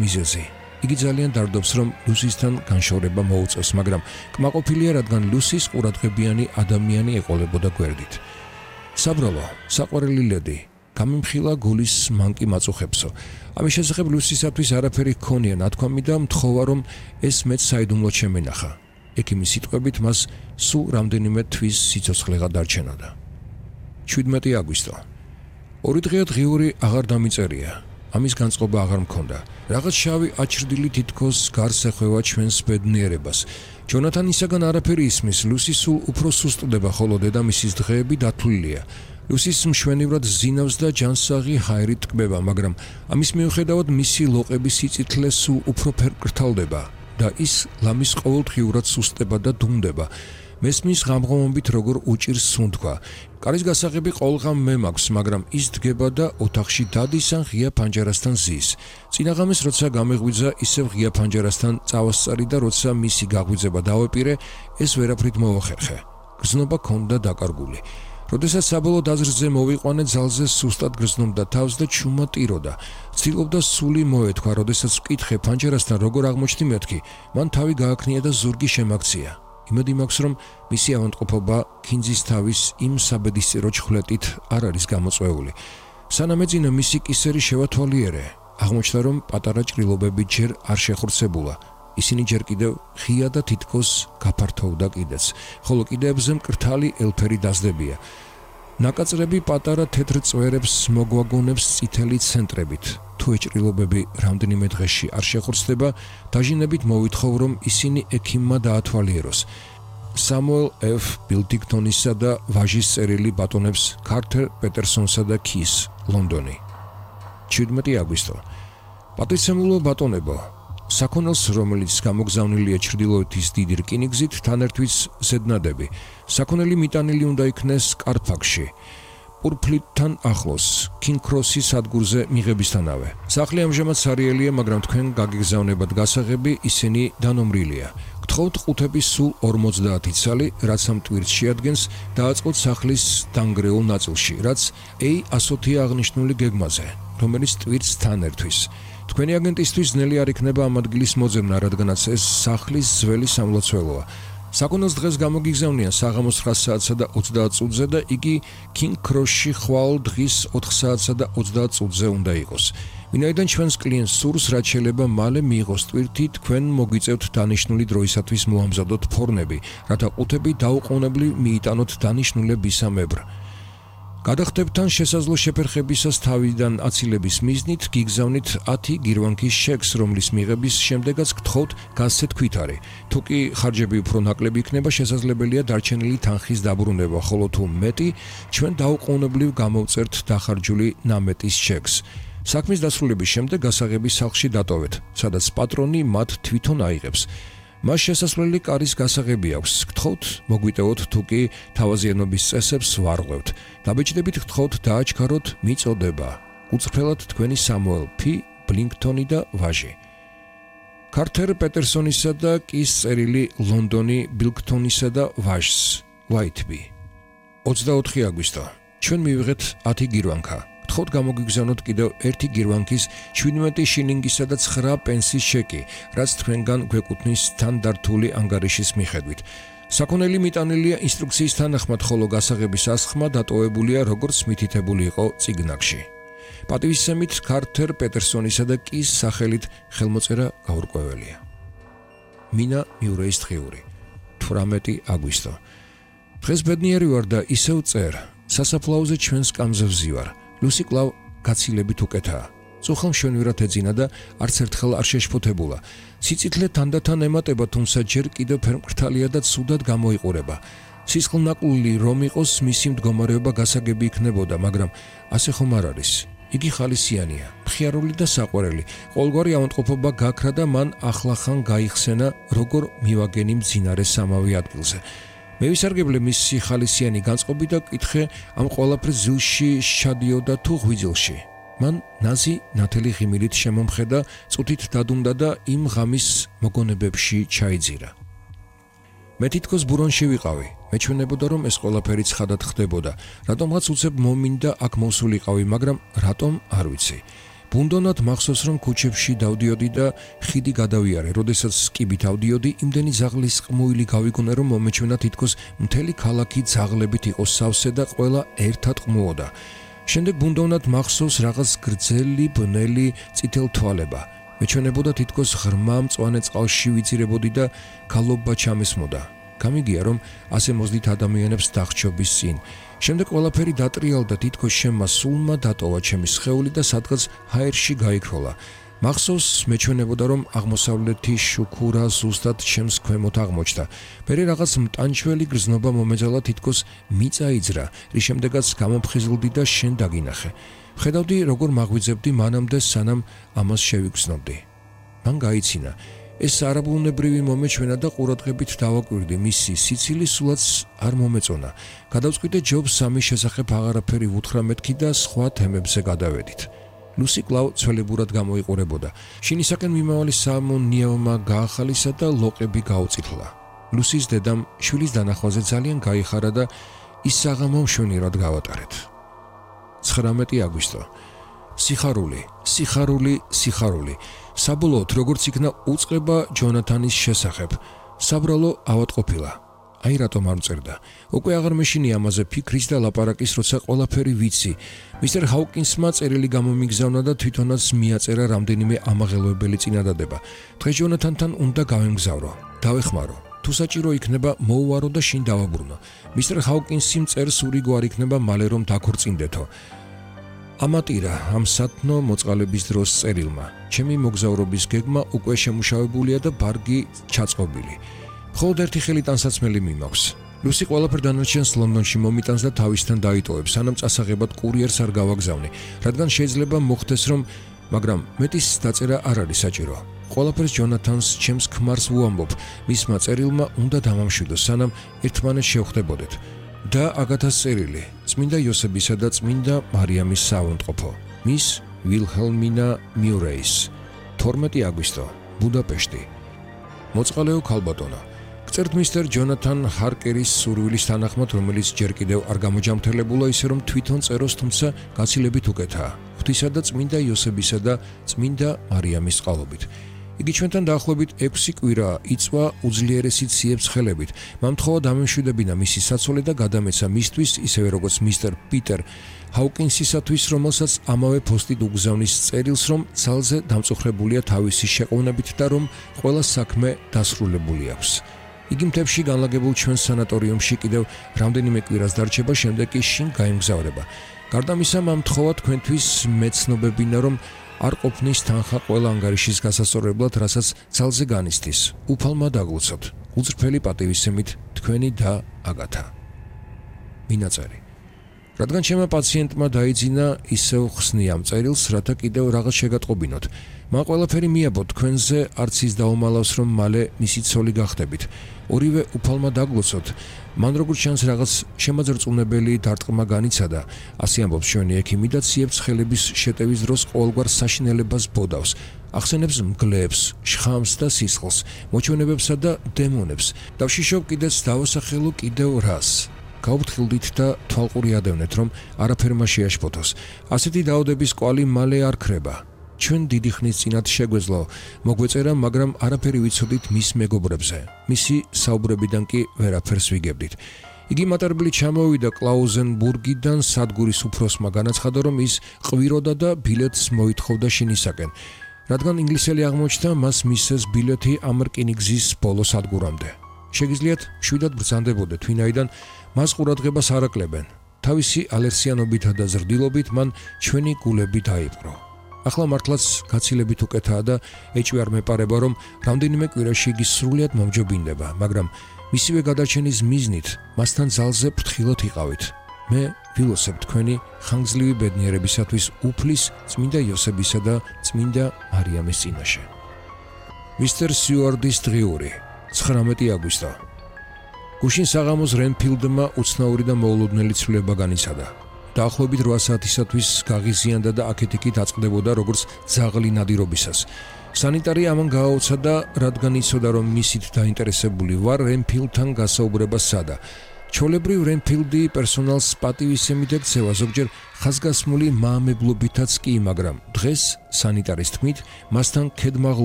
მიზეზი. იგი ძალიან დარდობს, რომ ლუსისთან განშორება მოუწევს, მაგრამ კმაყოფილია, რადგან ლუსის ყურადღებიანი ადამიანი ეყოლებოდა გვერდით. საბრალო, საყვარელი ლედი, გამიმხილა გულის მანკი მაწუხებსო. ამის შესახებ ლუსისათვის არაფერი ჰქონია ნათქვამი და მთხოვა, რომ ეს მეც საიდუმლოდ შემენახა. ექიმის სიტყვებით მას სულ რამდენიმე თვის სიცოცხლეღა დარჩენოდა. 17 აგვისტო. 2 დღეა დღიური აღარ დამიწერია. ამის განწყობა აღარ მქონდა. რაღაც შავი აჩრდილი თითქოს გარს ეხვევა ჩვენს ბედნიერებას. ჯონათანისაგან არაფერი ისმის, ლუსი სულ უფრო სუსტდება, ხოლო დედამისის დღეები დათვლილია. ლუსის მშვენივრად ზინავს და ჯანსაღი ჰაერით ტკბება, მაგრამ ამის მიუხედავად მისი ლოყების სიწითლე სულ უფრო ფერკრთალდება და ის ლამის ყოველდღიურად სუსტება და დუმდება. მესმის ღამღომობით როგორ უჭირს სუნთქვა. კარის გასაღები ყოველღამ მე მაქვს, მაგრამ ის დგება და ოთახში დადის ან ღია ფანჯარასთან ზის. წინაღამეს როცა გამეღვიძა, ისევ ღია ფანჯარასთან წავასწარი და როცა მისი გაღვიძება დავეპირე, ეს ვერაფრით მოახერხე. გრძნობა ქონდა დაკარგული. როდესაც საბოლოოდ აზრზე მოვიყვანე, ძალზე სუსტად გრძნობდა თავს და ჩუმა ტიროდა. ცდილობდა სული მოეთქვა, როდესაც ვკითხე ფანჯარასთან როგორ აღმოჩნდი მეთქი, მან თავი გააქნია და ზურგი შემაქცია. იმედი მაქვს, რომ მისი ავადმყოფობა ქინძის თავის იმ საბედისწერო ჩხვლეტით არ არის გამოწვეული. სანამ ეძინა მისი კისერი შევათვალიერე, აღმოჩნდა, რომ პატარა ჭრილობები ჯერ არ შეხორცებულა. ისინი ჯერ კიდევ ღია და თითქოს გაფართოვდა კიდეც, ხოლო კიდეებზე მკრთალი ელფერი დაზდებია. ნაკაწრები პატარა თეთრ წვერებს მოგვაგონებს წითელი ცენტრებით. თუ ეჭრილობები რამდენიმე დღეში არ შეხორცდება, დაჟინებით მოვითხოვ, რომ ისინი ექიმმა დაათვალიეროს. სამუელ F. ბილდინგტონისა და ვაჟის წერილი ბატონებს კარტერ პეტერსონსა და ქის, ლონდონი. 17 აგვისტო. პატრიცემულო ბატონებო, საქონელს, რომელიც გამოგზავნილია ჩრდილოეთის დიდი რკინიგზით, თან ერთვის ზედნადები. საქონელი მიტანილი უნდა იქნეს კარფაკში. პურფლიტთან ახლოს, კინგ-ქროსის სადგურზე მიღებისთანავე. სახლი ამჟამად სარიელია, მაგრამ თქვენ გაგიგზავნებათ გასაღები, ისინი დანომრილია. გთხოვთ ყუთების სულ 50 ცალი, რაც ამ ტვირთს შეადგენს, დააწყოთ სახლის დანგრეულ ნაწილში, რაც A100 აღნიშნული გეგმაზე, რომელიც ტვირთს თან ერთვის. თქვენი აგენტისთვის ძნელი არ იქნება ამ ადგილის მოძებნა, რადგანაც ეს სახლის ძველი სამლოცველოა. საქონელს დღეს გამოგიგზავნიან საღამოს 9 საათსა და 30 წუთზე და იგი კინგ-ქროსში ხვალ დღის 4 საათსა და 30 წუთზე უნდა იყოს. ვინაიდან ჩვენს კლიენტს სურს, რაც შეიძლება მალე მიიღოს ტვირთი, თქვენ მოგვიწევთ დანიშნული დროისათვის მოამზადოთ ფორნები, რათა ყუთები დაუყოვნებლივ მიიტანოთ დანიშნულებისამებრ. გადახდებთან შესაძლო შეფერხებისას თავიდან აცილების მიზნით გიგზავნით 10 გირვანქის შექს, რომლის მიღების შემდეგაც გთხოვთ გასცეთ ქვითარი. თუ კი ხარჯები უფრო ნაკლები იქნება, შესაძლებელია დარჩენილი თანხის დაბრუნება, ხოლო თუ მეტი, ჩვენ დაუყოვნებლივ გამოვწერთ დახარჯული ნამეტის შექს. საქმის დასრულების შემდეგ გასაღები სახლში დატოვეთ, სადაც პატრონი მათ თვითონ აიღებს. მას შესასვლელი კარის გასაღები აქვს. გთხოვთ მოგვიტევოთ, თუ კი თავაზიანობის წესებს ვარღვევთ. დაბეჭდებით გთხოვთ დააჩქაროთ მიწოდება. უწრფელად თქვენი სამუელ P. ბლინგტონი და ვაჟი. კარტერ პეტერსონისა და კის წერილი ლონდონი ბილგტონისა და ვაჟს, ვაითბი. 24 აგვისტო. ჩვენ მივიღეთ 10 გირვანქა. გთხოვთ გამოგიგზავნოთ კიდევ 1 გირვანქის 17 შილინგისა და 9 პენსის შეკი, რაც თქვენგან გვეკუთვნის თანდართული ანგარიშის მიხედვით. საქონელი მიტანილია ინსტრუქციის თანახმად, ხოლო გასაღების ასხმა დატოვებულია, როგორც მითითებული იყო წიგნაკში. პატივისცემით კარტერ პეტერსონისა და კის სახელით ხელმოწერა გაურკვეველია. მინა მიურეის დღიური. 18 აგვისტო. დღეს ბედნიერი ვარ და ისევ წერ. სასაფლაოზე ჩვენს კამზე ვზივარ. ლუსი კვლავ გაცილებით უკეთაა. წუხა მშვენივრად ეძინა და არც ერთხელ არ შეშფოთებულა. სიწითლე თანდათან ემატება, თუმცა ჯერ კიდევ ფერმკრთალია და ცუდად გამოიყურება. სისხლნაკლული რომ იყოს, მისი მდგომარეობა გასაგები იქნებოდა, მაგრამ ასე ხომ არ არის. იგი ხალისიანია, მხიარული და საყვარელი. ყოველგვარი ავადმყოფობა გაქრა და მან ახლახან გაიხსენა, როგორ მივაგენი მძინარე სამავე ადგილზე. მე ვისარგებლე მისი ხალისიანი განწყობი და კითხე, ამ ყველაფერს ზილში შადიოდა თუ ღვიძლში. მან ნაზი ნათელი ღიმილით შემომხედა, წუთით დადუმდა და იმ ღამის მოგონებებში ჩაიძირა. მე თითქოს ბურონში ვიყავი. მეჩვენებოდა, რომ ეს ყველაფერი ცხადად ხდებოდა, რატომღაც უცებ მომინდა აქ მოსულიყავი, მაგრამ რატომ არ ვიცი. ბუნდოვნად მახსოვს, რომ ქუჩებში დავდიოდი და ხიდი გადავიარე. როდესაც კიბით ავდიოდი, იმდენი ზაღლის ყმუილი გავიგონე, რომ მომეჩვენა თითქოს მთელი ქალაქი ზაღლებით იყო სავსე და ყველა ერთად ყმუოდა. შემდეგ ბუნდოვნად მახსოვს რაღაც გრძელი, ბნელი, წითელ თვალება. მეჩვენებოდა თითქოს ღრმა მწვანე წყალში ვიწირებოდი და გალობა ჩამესმოდა. გამიგია, რომ ასე მოძდით ადამიანებს დახჩობის წინ. შემდეგ ყველაფერი დატრიალდა, თითქოს შემმა სულმა დატოვა ჩემი სხეული და სადღაც ჰაერში გაიქროლა. მახსოვს, მეჩვენებოდა, რომ აღმოსავლეთი შუქურა ზუსტად ჩემს ქვემოთ აღმოჩნდა. მერე რაღაც მტანჩველი გრძნობა მომეძალა, თითქოს მიწა იძრა, რის შემდეგაც გამოფხიზლდი და შენ დაგინახე. ვხედავდი, როგორ მაღვიძებდი მანამდე, სანამ ამას შევიგრძნობდი. მან გაიცინა. ეს არაბუნებრივი მომეჩვენა და ყურადღებით დავაკვირდი, მისი სიცილი სულაც არ მომეწონა. გადავწყვიტე ჯობს სამის შესახებ აღარაფერი ვუთხრა მეთქი და სხვა თემებზე გადავედით. ლუსი კлау ცველებურად გამოიყურებოდა. შინისაკენ მიმავალი სამონიავმა გაახალისა და ლოყები გაუწითლა. ლუსის დედამ შვილის დანახვაზე ძალიან გაიხარა და ის საღამო მშვენივრად გავატარეთ. 19 აგვისტო. სიხარული. საბოლოოდ როგორც იქნა უწყება ჯონათანის შესახებ. საბრალო ავადყოფილა. აი რატომ არ მწერდა. უკვე აღარ მეშინი ამაზე ფიქრის და ლაპარაკის, როცა ყველაფერი ვიცი. მისტერ ჰაუკინსმა წერილი გამომიგზავნა და თვითონაც მიაწერა რამდენიმე ამაღელვებელი წინადადება. დღეს ჯონათანთან უნდა გავემგზავრო. დავეხმარო. თუ საჭირო იქნება, მოუვარო და შინ დავაბრუნო. მისტერ ჰაუკინსი მწერს ურიგო არ იქნება მალე რომ დაქორწინდეთო. ამატირა ამ სათნო მოწყალების დროს წერილმა. ჩემი მოგზაურობის გეგმა უკვე შემუშავებულია და ბარგი ჩაწყობილი. მხოლოდ ერთი ხელი ტანსაცმელი მიმაქვს. ლუსი ყველაფერ დანარჩენს ლონდონში მომიტანს და თავისთან დაიტოვებს, სანამ წასაღებად კურიერს არ გავაგზავნი, რადგან შეიძლება მოხდეს, რომ მაგრამ მეტის დაწერა არ არის საჭირო. ყველაფერს ჯონათანს ჩემს ქმარს ვუამბობ, მისმა წერილმა უნდა დამამშვიდოს, სანამ ერთმანეთს შევხვდებოდეთ. და აგათას წერილი, წმინდა იოსებისა და წმინდა მარიამის საავადმყოფო, მის ვილჰელმინა მიურეის, 12 აგვისტო, ბუდაპეშტი. მოწყალეო ქალბატონო, გწერთ მისტერ ჯონათან ჰარკერის სურვილის თანახმად, რომელიც ჯერ კიდევ არ გამოჯამრთელებულა, ისე რომ თვითონ წეროს, თუმცა გაცილებით უკეთაა, ღვთისა და წმინდა იოსებისა და წმინდა მარიამის წყალობით. იგი ჩვენთან დაახლოებით 6 კვირაა, იწვა უძლიერესი ციებ-ცხელებით. მამთხოვა დამემშვიდებინა მისი საცოლე და გადამეცა მისთვის, ისევე როგორც მისტერ პიტერ ჰაუკინსისათვის, რომელსაც ამავე პოსტით უგზავნის წერილს, რომ ძალზე დამწუხრებულია თავისი შეყოვნებით და რომ ყველა საქმე დასრულებული აქვს. იგი მთებში განლაგებულ ჩვენ სანატორიუმში კიდევ რამდენიმე კვირას დარჩება, შემდეგ კი შინ გაემგზავრება. გარდა ამისა, მამთხოვა თქვენთვის მეცნობებინა, რომ არ ყოფნის თანხა ყველა ანგარიშის გასასწორებლად, რასაც ძალზე განიცდის. უფალმა დაგლოცოთ. უძრფელი პატივისცემით, თქვენი და აგათა. მინაწერი. რადგან ჩემმა პაციენტმა დაიძინა, ისევ ხსნი ამ წერილს, რათა კიდევ რაღაც შეგატყობინოთ. მან ყველაფერი მიაბო თქვენზე, არც ის დაუმალავს, რომ მალე მისი ცოლი გახდებით. ორივე უფალმა დაგლოცოთ. მან როგორც ჩანს რაღაც შემაძრწუნებელი დარტყმა განიცადა, ასე ამბობს ჩვენი ექიმი და ციებ-ცხელების შეტევის დროს ყოველგვარ საშინელებას ბოდავს. ახსენებს მგლებს, შხამს და სისხლს, მოჩვენებებსა და დემონებს. დავშიშობ კიდეც დავასახელო კიდევ რას. გავფრთხილდით და თვალყური ადევნეთ, რომ არაფერმა შეაშფოთოს. ასეთი დაავადების კვალი მალე არ ქრება. ჩვენ დიდი ხნის წინათ შეგვეძლო მოგვეწერა, მაგრამ არაფერი ვიცოდით მის მეგობრებზე. მისი საუბრებიდან კი ვერაფერს ვიგებდით. იგი მატარებლით ჩამოვიდა კლაუზენბურგიდან, სადგურის უფროსმა განაცხადა, რომ ის ყვიროდა და ბილეთს მოითხოვდა შინისაკენ. რადგან ინგლისელი აღმოჩნდა, მას მისცეს ბილეთი ამ რკინიგზის ბოლო სადგურამდე. შეგიძლიათ მშვიდად ბრძანდებოდეთ, ვინაიდან მას ყურადღებას არ აკლებენ. თავისი ალერსიანობითა და ზრდილობით მან ჩვენი გულები დაიპყრო. ახლა მართლაც გაცილებით უკეთაა და ეჭვი არ მეპარება, რომ რამდენიმე კვირაში იგი სრულიად მომჯობინდება, მაგრამ მისივე გადარჩენის მიზნით მასთან ძალზე ფრთხილად იყავით. მე ვილოცებ თქვენი ხანგრძლივი ბედნიერებისათვის უფლის, წმინდა იოსებისა და წმინდა მარიამის წინაშე. მისტერ სიუარდის დღიური, 19 აგვისტო. გუშინ საღამოს რენფილდმა უცნაური და მოულოდნელი ცვლილება განიცადა. დაახლოებით 8 საათისათვის გაღიზიანდა და აქეთ-იქით აწყდებოდა როგორც ძაღლი ნადირობისას. სანიტარი ამან გააუცა და რადგან იცოდა, რომ მისით დაინტერესებული ვარ, რენფილდთან გასაუბრება სცადა. ჩვეულებრივ რენფილდი პერსონალს პატივისცემით ექცევა, ზოგჯერ ხაზგასმული მაამებლობითაც კი, მაგრამ დღეს სანიტარის თქმით, მასთან ქედმაღლურ